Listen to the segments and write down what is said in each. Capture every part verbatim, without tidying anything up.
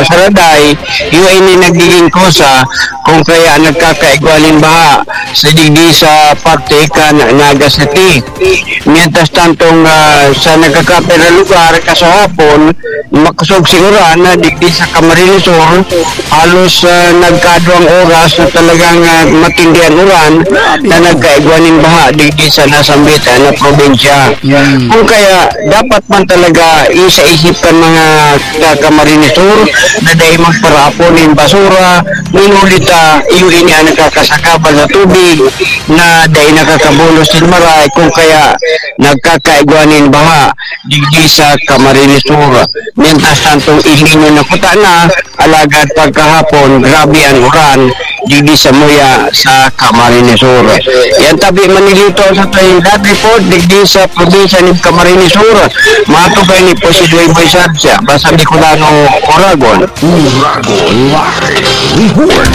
Saraday, iyo ini nagiging kosa kung kaya nagkakaigwa nin baha sa digdi sa parte kan Naga City. Mientras tantong, ah, sa nagkakapira lugar, kasahapon, makosog si uran na digdi sa Camarines Sur, halos, ah, nagkaduwang oras na talagang, ah, matindi an uran na nagkaigwa nin baha digdi sa nasambit na probinsya. Kung kaya, dapat man talaga isaisip kan mga taga Camarines Sur na dai magparapon nin basura, ngunyan ta, iyo ini ang nagkakasakabal sa tubig na dai nakakabulos nin maray, kung kaya nagkakaigwa nin baha digdi sa Camarines Sur. Mientras tanto, El Niño na kuta na, alagad pagkahapon, grabe ang uran digdi sa muya sa Camarines Sur. Yan tabi, Manilito, sa Trinidad Report, digdi sa probinsya ni Camarines Sur. Matubay ni po si Dwayne Boy Sarsia, basta Bicolano, Oragon. Oragon Live Report.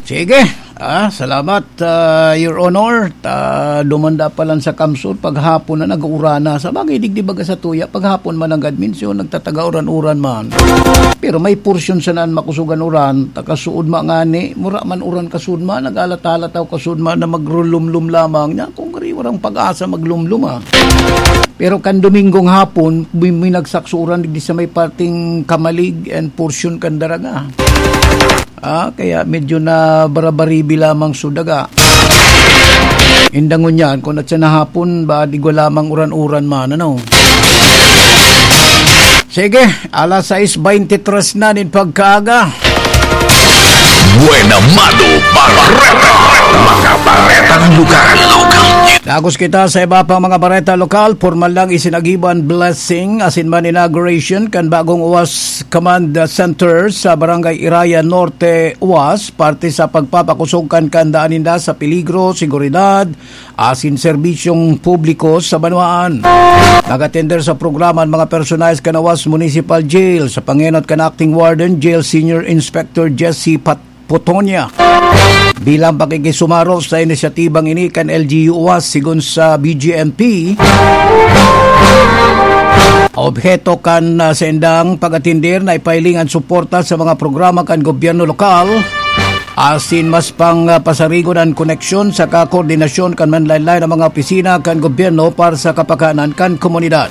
Sige. Ah, salamat, ah, Your Honor. Ta, dumanda pa lang sa kamsur, paghapon na nag-uurana. Sa bagay, digdi baga sa tuya, paghapon man ang adminsyon, nagtataga uran-uran man. Pero may porsyon sana an makusog an uran, ta kasuod man ngani, mura man uran kasuod man, nag-alat-alat ako kasuod man na magrulumlum lamang niya. Kung gari, warang pag-asa maglumlum, ah. Pero kan Domingong hapon, may, may nagsaksuran digdi sa may parting Kamalig and portion kan Daraga. Ah, kaya medyo na barabaribi lamang so daga. Indangon yan, kung at sa nahapon, ba, digwa lamang uran-uran man, ano? Sige, alas sais beintitres na nin pagkaaga. Buena Mano Bareta. Mga baretang lokal. Dagos kita sa iba pang mga bareta lokal. Pormal lang isinagiban blessing asin man inauguration kan bagong OWAS Command Center sa Barangay Iraya Norte, OWAS, parte sa pagpapakosog kan kaandaan ninda sa peligro, seguridad, asin serbisyong publiko sa banwaan. Nag-atender sa programa an mga personahe kan OWAS Municipal Jail sa pangenot kan Acting Warden Jail Senior Inspector Jesse Pat-, Putonia. Bilang pakikisumaro sa inisyatibang ini kan L G U OWAS, sigon sa B J M P, obheto kan, ah, saindang pag-atender na ipahiling an suporta sa mga programa kan gobyerno lokal, asin mas pang, ah, pasarigon an koneksyon saka koordinasyon kan manlaen-laen na mga opisina kan gobyerno para sa kapakanan kan komunidad.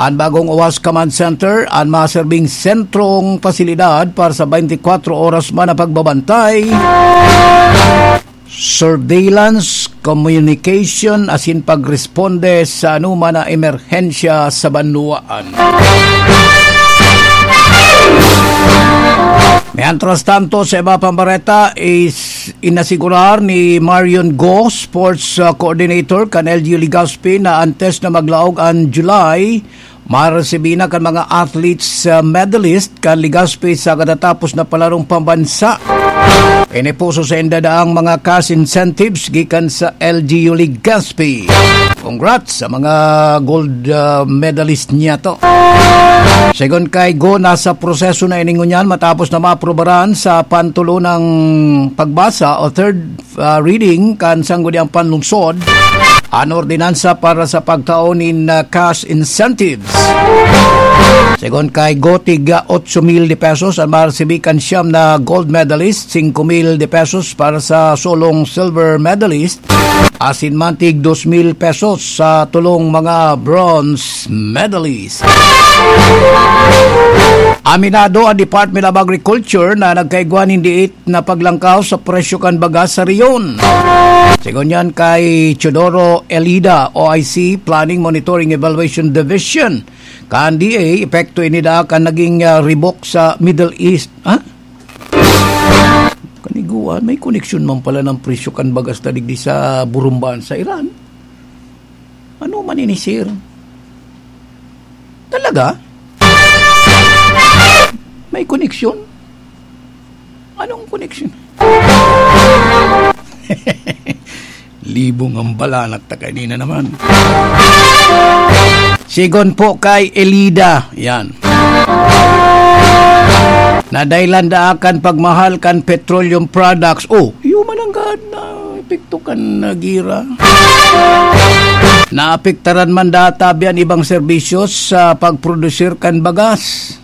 An bagong OWAS Command Center an maserbing sentrong pasilidad para sa twenty-four oras man na pagbabantay, surveillance, communication, asin pagresponde sa anoman na emerhensya sa banwaan. Mientras tanto, sa iba pang bareta, is inasigurar ni Marion Go, sports, uh, coordinator kan L G U Legazpi, na antes na maglaog an July, maresibi na kan mga athletes, uh, medalist kan Legazpi sa katatapos na palarong pambansa. Inipuso sa inda daang mga cash incentives gikan sa L G U Legazpi. Congrats sa mga gold, uh, medalist niya to. Segun kay Go, nasa proseso na ini ngunyan matapos na maaprubaran sa pantulonang pagbasa o third, uh, reading kan Sangguniang Panlungsod an ordinansa para sa pagtao nin, uh, cash incentives. Segun kay Go, tig, uh, otso mil de pesos an maresibi kan siyam na gold medalist, singko mil de pesos para sa solong silver medalist, asin man tig dos mil pesos sa tolong mga bronze medalist. Aminado ang Department of Agriculture na nagkaigwa nin diit na paglangkaw sa presyo kan bagas sa rehiyon. Segun yan kay Teodoro Elida, O I C, Planning, Monitoring, Evaluation Division, kan D A, epekto ini daa kan naging, ah, ribok sa Middle East. Ha? Kaniguan, may koneksyon man pala ng presyo kan bagas na digdi sa Burumban sa Iran. Ano man ini, sir? Talaga? May koneksyon? Anong koneksyon? Libong ang balanak ta kanina naman. Sigon po kay Elida, yan. Nadailan daa kan pagmahal kan petroleum products. Oh, iyo man ang gad na epekto kan, ah, gira. Naapektaran man data biyan ibang serbisyo sa pagprodusir kan bagas.